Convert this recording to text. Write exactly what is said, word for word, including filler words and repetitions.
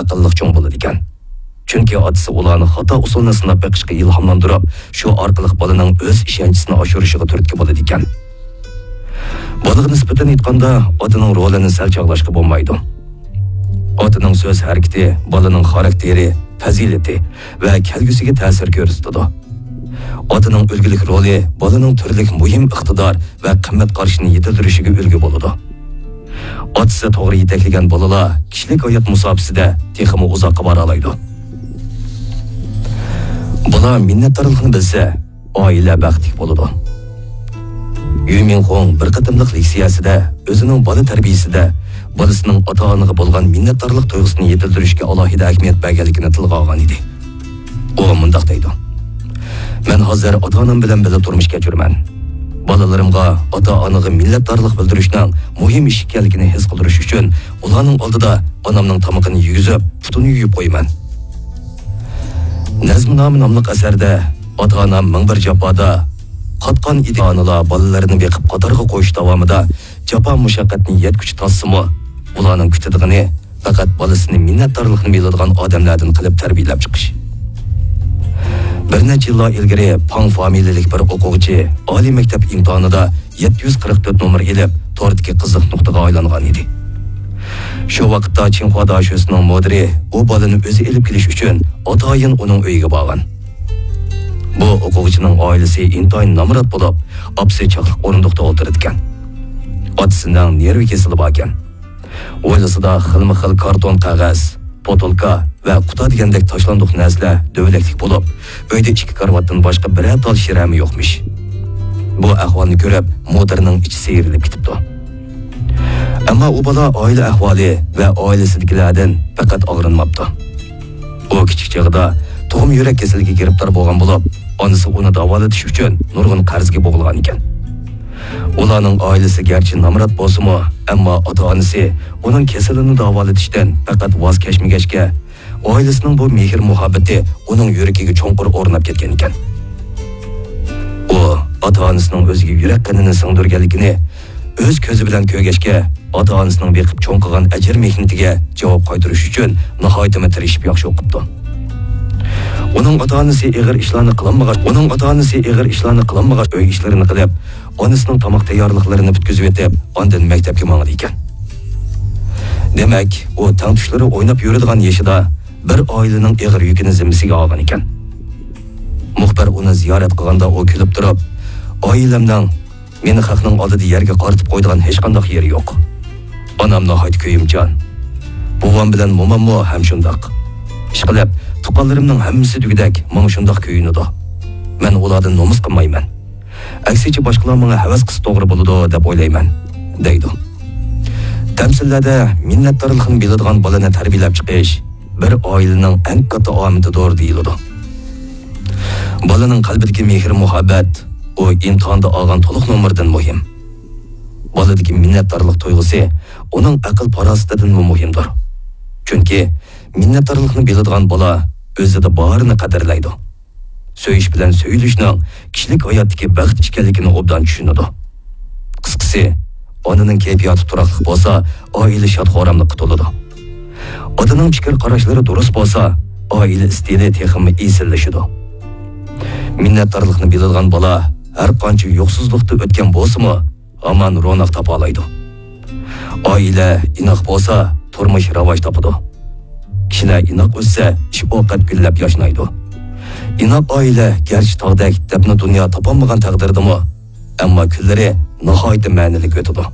ئەقىللىق چوڭ بولىدىكەن. چۈنكى ئاتىسى ئۇلارنى خاتا ئۇسۇلنى سىناپ بېقىشقا ئىلھاملاندۇرۇپ، شۇ ئارقىلىق بالىنىڭ ئۆز ئىشەنچىسىنى ئاشۇرۇشىغا تۈرتكە بولىدىكەن. بالىغا نىسبەتەن ئېيتقاندا، ئاتىنىڭ رولىنى سەل چاغلاشقا بولمايدۇ. ئاتىنىڭ سۆز ھەرىكىتى بالىنىڭ خاراكتېرى، پەزىلىتى ۋە كەلگۈسىگە تەسىر كۆرسىتىدۇ. ئاتىنىڭ ئۈلگىلىك رولى بالىنىڭ تۈرلۈك مۇھىم ئىقتىدار ۋە قىممەت قارىشىنى يېتىلدۈرۈشىگە ئۈلگە بولىدۇ. ئاتىسى توغرا يېتەكلىگەن بالىلار كىشىلىك ھايات مۇساپىسىدە تېخىمۇ ئۇزاققا بارالايدۇ. بالا مىننەتدارلىقنى بىلسە، ئائىلە بەختلىك بولىدۇ. يۈ مىڭخۇڭ بىر قېتىملىق لېكسىيەسىدە ئۆزىنىڭ بالا تەربىيىسىدە بالىسىنىڭ ئاتا-ئانىغا بولغان مىننەتدارلىق تۇيغۇسىنى يېتىلدۈرۈشكە ئالاھىدە ئەھمىيەت بەرگەنلىكىنى تىلغا ئالغان ئىدى. ئۇ مۇنداق دەيدۇ: «مەن ھازىر ئاتا-ئانام بىلەن بىللە تۇرمۇش كەچۈرىمەن. بالىلىرىمغا ئاتا-ئانىغا مىننەتدارلىق بىلدۈرۈشنىڭ مۇھىم ئىش ئىكەنلىكىنى ھېس قىلدۇرۇش ئۈچۈن ئۇلارنىڭ ئالدىدا ئانامنىڭ تامىقىنى يېگۈزۈپ، پۇتىنى يۇيۇپ قويىمەن.» نەزمۇنامە ناملىق ئەسەردە ئاتا-ئانام مىڭ بىر جاپادا قاتقان ئىدى. ئانىلار بالىلىرىنى بېقىپ قاتارغا قويۇش داۋامىدا جاپا-مۇشەققەتنى يەتكۈچە تارتسىمۇ، ئۇلارنىڭ كۈتىدىغىنى پەقەت بالىسىنى مىننەتدارلىقنى بىلىدىغان ئادەملەردىن قىلىپ تەربىيەلەپ چىقىش. بىر نەچچە يىللار ئىلگىرى پاڭ فامىلىلىك بىر ئوقۇغۇچى ئالىي مەكتەپ ئىمتىھانىدا يەتتە يۈز قىرىق تۆت نومۇر ئېلىپ، توردىكى قىزىق نۇقتىغا ئايلانغان ئىدى. شۇ ۋاقىتتا چىڭخۇا داشۆسىنىڭ مۇدىرى ئۇ بالىنى ئۆزى ئېلىپ كېلىش ئۈچۈن ئاتايىن ئۇنىڭ ئۆيىگە بارغان. بۇ ئوقۇغۇچىنىڭ ئائىلىسى ئىنتايىن نامرات بولۇپ، ئاپىسى چاقلىق ئورۇندۇقتا ئولتۇرىدىكەن. ئاتىسىنىڭ نېرۋا كېسىلى باركەن. ھويلىسىدا خىلمۇ خىل كارتون قەغەز، پوتۇلكا ۋە قۇتا دېگەندەك تاشلاندۇق نەرسىلەر دۆۋىلەكلىك بولۇپ، ئۆيدە ئىككى كارىۋاتتىن باشقا بىرەر تال شىرەمۇ يوقمىش. بۇ ئەھۋالنى كۆرۈپ، مۇدىرنىڭ ئىچى سىيرىلىپ كېتىپتۇ. ئەمما ئۇ بالا ئائىلە ئەھۋالى ۋە ئائىلىسىدىكىلەردىن پەقەت ئاغرىنماپتۇ. ئۇ كىچىك چېغىدا تۇغما يۈرەك كېسىلىگە گىرىپتار بولغان بولۇپ، ئانىسى ئۇنى داۋالىتىش ئۈچۈن نۇرغۇن قەرزگە بوغۇلغان ئىكەن. ئۇلارنىڭ ئائىلىسى گەرچە نامرات بولسىمۇ، ئەمما ئاتا-ئانىسى ئۇنىڭ كېسىلىنى داۋالىتىشتىن پەقەت ۋاز كەچمىگەچكە، ئائىلىسىنىڭ بۇ مېھىر-مۇھەببىتى ئۇنىڭ يۈرىكىگە چوڭقۇر ئورناپ كەتكەن ئىكەن. ئۇ ئاتا-ئانىسىنىڭ ئۆزىگە يۈرەك قېنىنى سىڭدۈرگەنلىكىنى ئۆز كۆزى بىلەن كۆرگەچكە، ئاتا-ئانىسىنىڭ بېقىپ چوڭ قىلغان ئەجىر مېھنىتىگە جاۋاب قايتۇرۇش ئۈچۈن ناھايىتىمۇ تىرىشىپ ياخشى ئوقۇپتۇ. ئۇنىڭ ئاتا-ئانىسى ئېغىر ئىشلارنى قىلالمىغاچ، ئۇنىڭ ئاتا-ئانىسى ئېغىر ئىشلارنى قىلالمىغاچ، ئۆي ئىشلىرىنى قىلىپ، ئانىسىنىڭ تاماق تەييارلىقلىرىنى پۈتكۈزۈۋېتىپ، ئاندىن مەكتەپكە ماڭىدىكەن. دېمەك، ئۇ تەڭتۇشلىرى ئويناپ يۈرىدىغان يېشىدا بىر ئائىلىنىڭ ئېغىر يۈكىنى زىممىسىگە ئالغان ئىكەن. مۇخبىر ئۇنى زىيارەت قىلغاندا ئۇ كۈلۈپ تۇرۇپ، «ئائىلەمنىڭ مېنى خەقنىڭ ئالدىدا يەرگە قارىتىپ قويىدىغان ھېچقانداق يېرى يوق. ئانام ناھايىتى كۆيۈمچان. بوۋام بىلەن موماممۇ ھەم شۇنداق. ئىشقىلىپ، تۇغقانلىرىمنىڭ ھەممىسى دېگۈدەك ماڭا شۇنداق كۆيۈنىدۇ. مەن ئۇلاردىن نومۇس قىلمايمەن. ئەكسىچە باشقىلار ماڭا ھەۋەس قىلسا توغرا بولىدۇ دەپ ئويلايمەن»، دەيدۇ. تەمسىللەردە مىننەتدارلىقنى بىلىدىغان بالىنى تەربىيەلەپ چىقىش بىر ئائىلىنىڭ ئەڭ كاتتا ئامىتىدۇر دېيىلىدۇ. بالىنىڭ قەلبىدىكى مېھىر-مۇھەببەت ئۇ ئىمتىھاندا ئالغان تولۇق نومۇردىن مۇھىم. بالىدىكى مىننەتدارلىق تۇيغۇسى ئۇنىڭ ئەقىل-پاراسىتىدىنمۇ مۇھىمدۇر. چۈنكى مىننەتدارلىقنى بىلىدىغان بالا ئۆزىدە بارىنى قەدىرلەيدۇ. سۆيۈش بىلەن سۆيۈلۈشنىڭ كىشىلىك ھاياتتىكى بەخت ئىكەنلىكىنى ئوبدان چۈشىنىدۇ. قىسقىسى، ئانىنىڭ كەيپىياتى تۇراقلىق بولسا، ئائىلە شاد-خۇراملىققا تولىدۇ. ئاتىنىڭ پىكىر-قاراشلىرى دۇرۇس بولسا، ئائىلە ئىستىلى تېخىمۇ ئېسىللىشىدۇ. مىننەتدارلىقنى بىلىدىغان بالا ھەر قانچە يوقسۇزلۇقتا ئۆتكەن بولسىمۇ، ھامان روناق تاپالايدۇ. ئائىلە ئىناق بولسا، تۇرمۇش راۋاج تاپىدۇ. كىشىلەر ئىناق ئۆسسە، ئىش-ئوقەت گۈللەپ ياشنايدۇ. ئىناق ئائىلە گەرچە تاغدەك دەپنە دۇنيا تاپالمىغان تەقدىردىمۇ، ئەمما كۈنلىرى ناھايىتى مەنىلىك ئۆتىدۇ.